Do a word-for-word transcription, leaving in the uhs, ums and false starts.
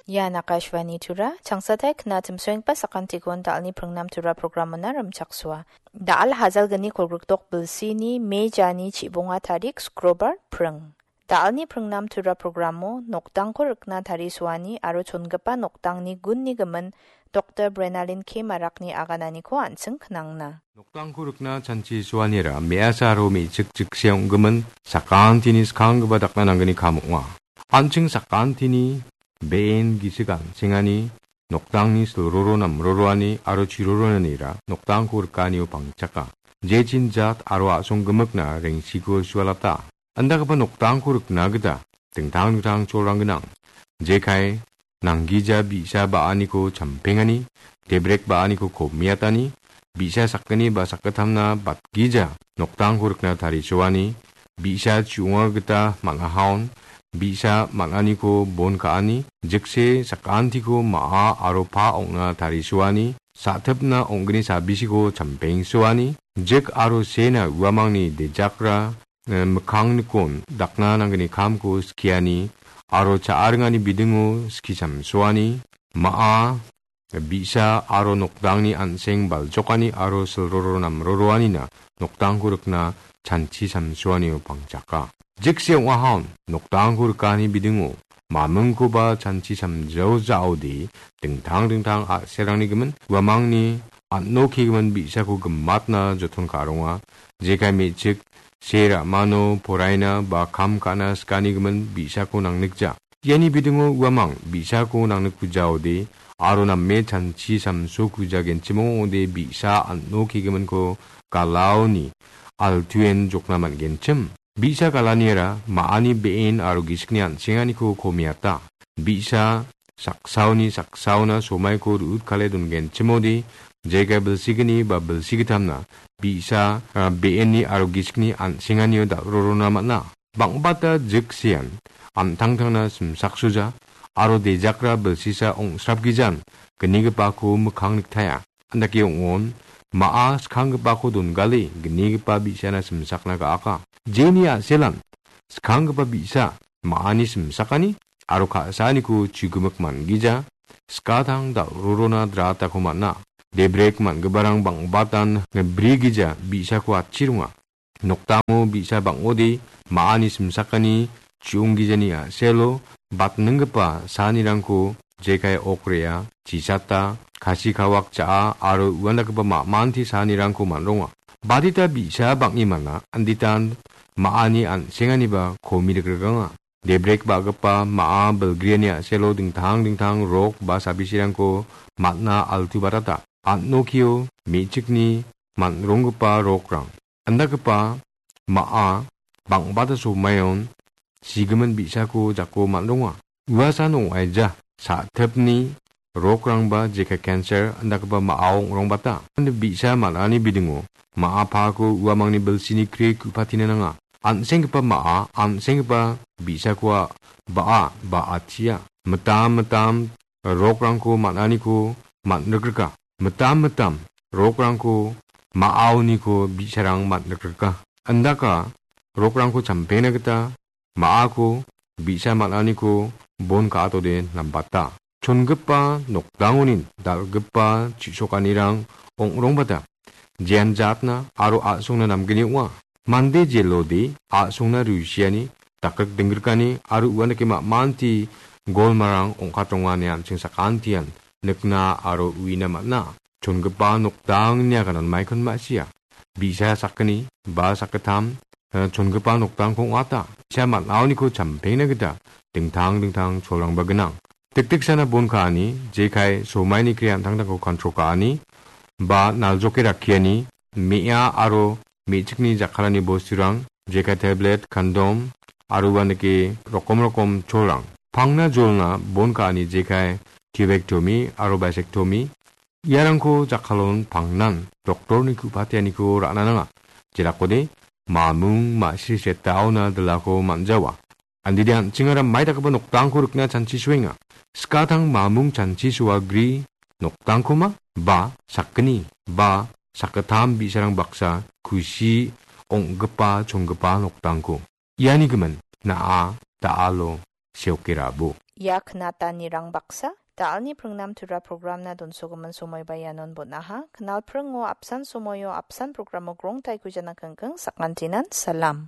Ian Akashvani Tura, changsatai knatim soengpa sakantikon dalni pringnam Tura programona rimchaksoa. Dal hajalgni kolgrikdok bilsini mejani chibonga tarik Skrobar pring. Dalni pringnam Tura programo nokdangko rikna tarisoani aro chongipa nokdangni gunni gimin Doktor Brenalin K Marakni agananiko an·ching knangna. Nokdangko rikna chanchi soanira me·asa aro me·chik jikse ong·gimin sakantini skanggipa dakna nanggni kam ong·a. An·ching sakantini be·en gisik an·sengani, nokdangni silroro namroroani aro chiroronanira nokdangko rikanio pangchaka. Jechin jat aro a·song gimikna rengsiko sualata. Andagipa nokdangko rikna gita dingtang dingtang cholrang gnang. Jekai nanggija bi·sa ba·aniko champengani, debrek ba·aniko komiatani, bi·sa sakgni ba sakgittamna batgija nokdangko rikna tarisoani, bi·sa chu·onga gita man·ahaon, bi·sa man·aniko bon ka·ani, jikse sakantiko ma·a aro pa ong·na tarisoani, sa·tipna ong·gni sabisiko champengsoani, jik aro sena uamangni dejakra, eh, mikkangnikon dakna nanggni kamko skiani aro cha·a ringani bidingo skisamsoani, ma·a, bi·sa aro nokdangni an·seng baljokani aro silroro namroroanina nokdangko rikna chanchi samsoanio pangchaka. Jikse ong·ahaon nokdangko rikani bidingo mamingkoba chanchi samjao ja·ode dingtang dingtang a·serangni gimin uamangni an·o kegimin bi·sako gimatna joton ka·ronga. Jekai me·chik se ra·mano poraina ba kam ka·na sikanigimin bi·sako nangnikja. Iani bidingo uamang bi·sako nangnikkujaode aro name chanchi samsokujagenchim ong·ode bi·sa an·o kegiminko galaoni altuen jokna man·genchim. Bi·sa galaniara ma·ani be·en aro gisikni an·senganiko komiata. Bi·sa saksaoni saksaona somaiko ru·utkale dongenchimode, jekai bilsigni ba bilsigitamna bi·sa, a, be·enni aro gisikni an·senganio dal·rorona man·a. Bang·bata jiksean an·tangtangna simsaksoja aro dejakra bilsisa ong·srapgijan gnigipako mikkang niktaia. Andake ong·on, ma·a skanggipako dongale gnigipa bi·sana simsakna ga·aka. Jeni a·selan skanggipa bi·sa ma·ani simsakani aro ka·saaniko chigimik man·gija, skatang dal·rorona dratako man·a. Debrek man·giparang bang·batan brigija bi·sako atchironga. Nokdango bi·sa bang·ode ma·ani simsakani chu·onggijani a·selo batninggipa saanirangko jekai okrea, chisata, kasi kawak ja·a aro uandakgipa ma·manti saanirangko man·ronga. Badita bi·sa bang·e man·a, anditan ma·ani an·senganiba komi rikrikanga. Debrek ba·gipa ma·a bilgriani a·selo dingtang dingtang rok ba sabisirangko man·a altu batata. An·okio me·chikni man·ronggipa rokrang. Andagipa ma·a bang·bata somaion sigimin bi·sako jako man·ronga. Uasan ong·aija sa·tipni rokrangba jekai cancer andagipa ma·ao ong·rongbata. Bi·sa man·ani bidingo ma·a pako uamangni bilsini kri ku·patina nanga. An·senggipa ma·a, an·senggipa bi·sakoa ba·a, ba·achia. Mitam mitam rokrangko man·aniko man·rikrika. Mitam mitam rokrangko ma·aoniko bi·sarang man·rikrika. Andaka rokrangko champengna gita ma·ako bi·sa man·aniko bon ka·atode nambata. Chongipa nokdangonin dal·gipa chisokanirang ong·rongbata. Jean jatna aro a·songna namgni ong·a. Mande jelode a·songna rusiani, dakrik dinggrikani aro uanike ma·manti golmarang ong·katronga ine an·ching sakantian nikna aro uina man·a. Chongipa nokdangni aganan maikon ma·sia. Bi·sa sakgni ba sakgittam, eh, chongipa nokdangko ong·ata. Bi·sa man·aoniko champengna gita dingtang dingtang cholrangba gnang. Dikdiksana bon ka·ani, jekai somaini kre an·tangtangko kontrol ka·ani, ba naljoke rakkiani, me·a aro me·chikni jakkalani bosturang, jekai tablet, kondom, aro uanike rokom rokom cholrang. Pangna jolna bon ka·ani jekai tubektomi aro basektomi, iarangko jakkalon pangnan doktorni ku·patianiko ra·na nanga. Jelakode mamung ma·sri setaona dilako man·jawa. Andide an·chingara mai dakgipa nokdangko rikna chanchi soenga. Skatang mamung chanchi soagri nokdangkoma ba sakgni ba sakgittam bi·sarang baksa kusi ong·gipa chonggipa nokdangko. Iani gimin na·a da·alo seokerabo. Ia knatanirang baksa, da·alni pringnam tura programna donsogimin somoiba ianon bon·aha. Knalpringo apsan somoio apsan programo grongtaiko jana kengkeng sakantinan salam.